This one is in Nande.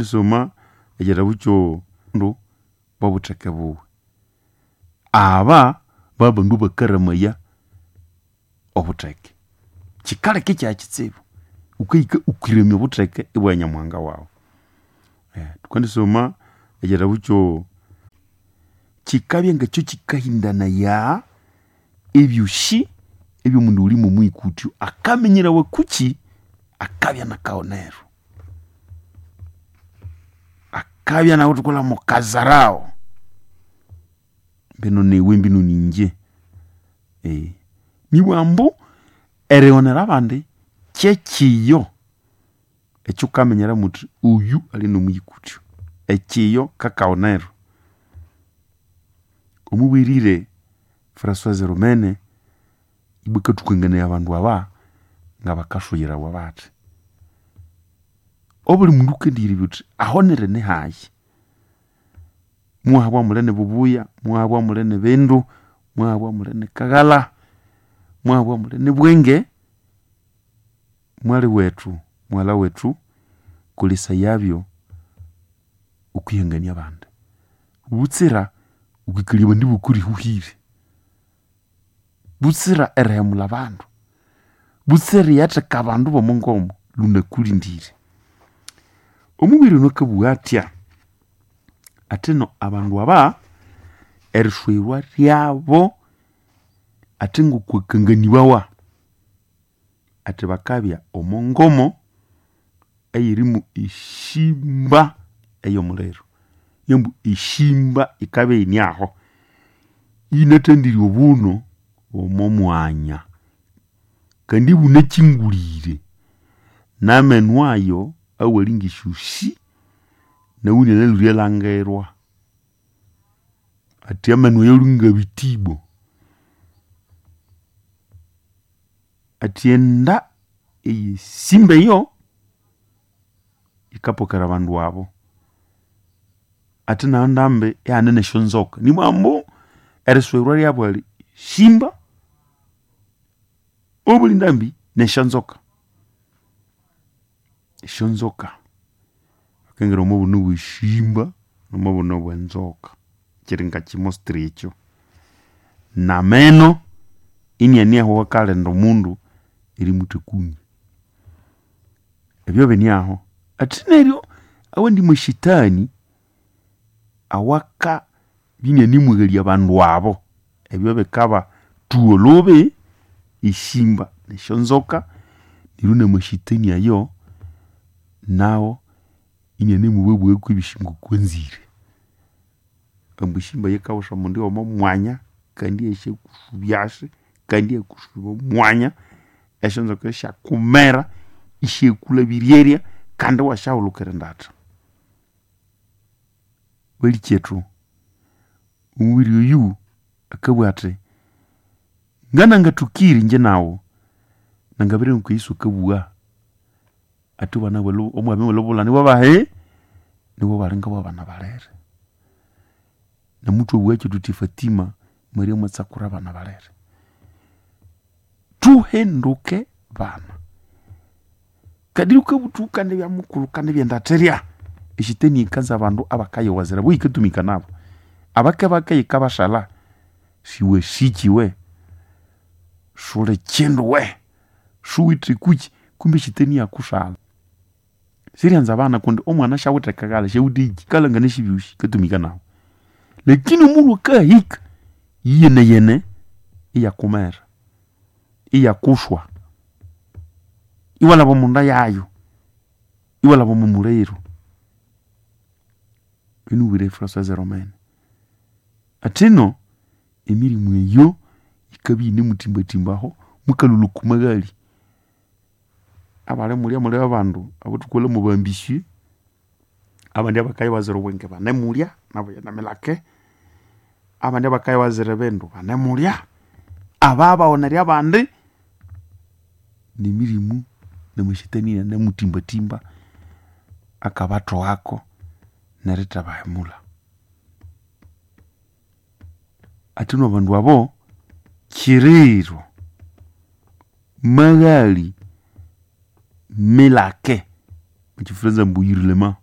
Soma ekitabu kyondu bwobutheke buwe. Aba babandu bakaramaya obutheke. Kyikaleka ikyaya kitsibu. Wukahika wukiramya obutheke ibwa nyamuhanga wawu. Thukandisoma ekitabu kyo kyikabya ngakyo kyikahindanaya ebyosi ebyomundu oyuli mwomuhikutyo akaminyirawa kutsi akabya inakawonero. Akabya inawithe erikolha mukazarao. Mbino niwe mbino ningye. Nibughambu ambu erighonera abandi kyekyiyo ekyawukaminyiramu wuthi oyu ali nomuhikutyo. Ekyiyo kakawonero. Omubwerire François Romene ibwa akathukanganaya abandu aba ngabakasuyirawa bathi. Obuli mundu wukandiyirebya wuthi ahonere nihayi? Muwahabwa muli nibubuya, muwahabwa muli nibindu, muwahabwa muli nikaghalha, muwahabwa muli nibwenge, mwali wethu, mughalha wethu, kolesayabyo okwihangania abandi. Butsira okwikalya abandu ngokurihuhire. Butsira erihemulha abandu. Butsira eriyatheka abandu bomongomo lhunakulindire. Omubwire ono akabugha athya, athino abandu aba erisweherwa ryabo athi ngokwakanganibawa, athi bakabya omongomo eyirimu esyimba eyomuliro. Ambu esyimba yikabya iyine aho, iyinathandire obuno bwomomwanya kandi ibunakyingulire namenu ayo awali ngesyosi nawu inalhwire erilhangirwa. Athi amenu ayo alwe ngebitibo. Athi enda eyesimba eyo yikapokera abandu abo. Athi nayo ndambi ihane nesyonzoka nibughambu erisweherwa ryabu ali simba obuli ndambi nesyonzoka. Esyonzoka, bakangira omwabunu bwesimba nomwabunu bwenzoka kyiri ngakyimostry ekyo. Nameno inianiaho awakalinda omundu erimuthakunya. Ebyo biniaho. Athi neryo awandi mashetani awakabya inianemughalya abandu abo, ebyo bikabathugha olhubi, esimba nesyonzoka, neryo namashetani ayo nawo inianemubabugha kwebyosi ngokwanzire. Ambu esimba yikawusa omundu yomomwanya kandi iyasyakusubyasi kandi iyakusuba omwanya, esyonzoka isyakumera, isyakulhabiryerya kandi iwasyahulukira endatha. Balikyethu, omubiri oyu akabugha athi nganangathokire ingye naghu, nangabere ngoko Yesu akabugha athi obwana omwami welhubulha nibwabahi? Nibwabali ngabwabana balere. Namuthwabugha thuthi efatima, Maria mwatsakura abana balere. Thuhinduke bana. Kadiri wukabutha wukandibya mukulhu wukandibya endatherya, eshetani yikanza abandu abakayiwazira bo yikatumika nabo. Abakebake yikabashalha, siwasikyi iwe, suli kyindu iwe, suwithe kukyi, kumbe eshetani iyakushalha. Siryanza abana kundi omwana syawithe akaghalha, syawithe hiki, kalha nganasi ebyosi, yikatumika nawu. Lakini omundu akahika, iyeneyene iyakumera, iyakuswa, iwalhaba omunda yayo, iwalhaba omomuliro. Oyu François Romene. Athino emirimu eyo yikabya iyinemuthibathimba aho mukalhwa okwa maghali. Abalimulya muli abandu abathukolha mwabambisye, abandi abakayiwazira obwenge banemulya nabo nemilake, abandi abakayiwazira ebindu banemulya, aba abawonerya abandi nemirimu namashetani inanemuthibathimba akabathoghako nerithabahemulha. Athino abandu abo kyiriro maghali milake, omwakifaransa ambu hurlement.